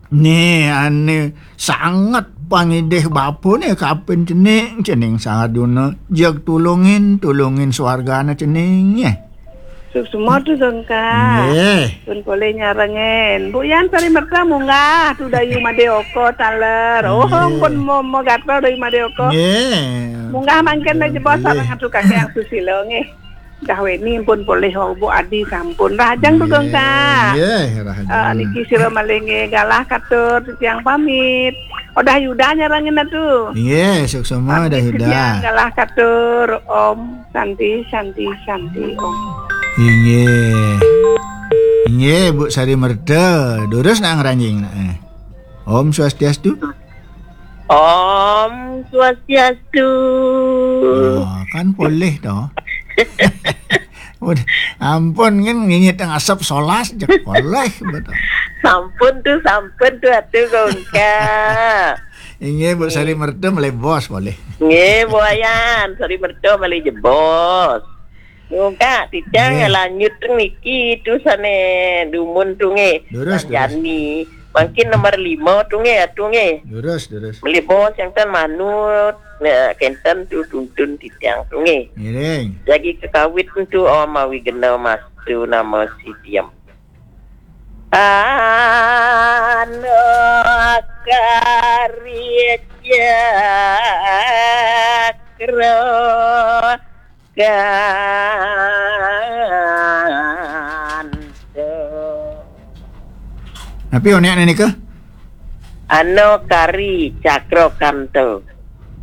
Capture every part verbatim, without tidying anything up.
Nih, ane sanget pangidih bapane kapin cening, cening sanget duna jeg tulungin, tulungin swargane cening, ya. Suksma tu, Gengka. Nggih. Pun polih nyarengin. Bu Yan sari merta munggah tu Dayu Made Oko taler. Oh, nggih. Pun mo, mo gatel Dayu Made Oko. Nggih. Munggah mangkin dah jebos. Nggih. Sareng atu Kakang Susila, nggih. Dah weni pun polih, oh, Bu Adi sampun. Rahajeng tu, nggih. Gengka. Nggih, rahajeng. Ah, niki sira malih, nggih, galah katur titiang pamit. Odah Yuda nyarengin atu. Nggih, suksma. Pamit Dah Yuda. Titiang galah katur, Om. Santi, Santi, Santi, Om. Inggih. Inggih, Bu Sari Merta. Durus nak ngranjing nak, eh. Om Swastiastu. Om Swastiastu. Oh, kan polih to. Udah, ampun, kan nginyit yang asap solas, jek polih, betul. Sampun tu, sampun tu atu, Gengka. Inggih, Bu Sari Merta malih bos, polih. Nggih, Bu Yan, Sari Merta malih jebos. Nggih, Kak, titiang, nggih, lanjut niki tu sane dumun tu, nggih. Durus, durus. Jani. Mangkin nomor lima tu, nggih, atu, nggih. Durus, durus. Malih bos yang ten manut. Nah, kenten tu tuntun titiang tu, nggih. Ngiring. Jagi kekawit tu, oh, mawi gena mas tu nama si Tiam. Anu kari cakra kanta. Napi onek nika? Anu kari cakra kanta.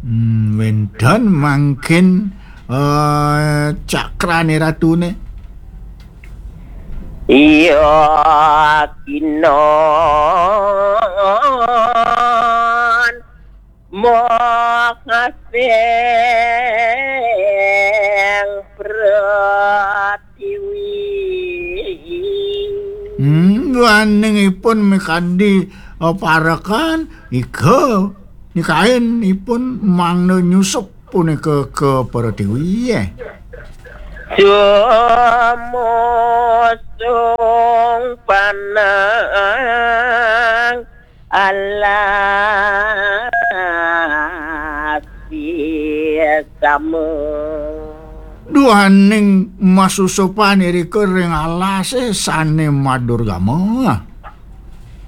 Hmm, wenten mangkin, eh, cakrane ratune. Iya, kinon. Moh ngaseng pratiwi. Hmm, duaning ipun mikadi, eh, parekan, ika nikain ipun mangda nyusup punika ka pratiwi, eh. Sumusung panang alas sama. Duaning masusupan irika ring alase sane madurgama.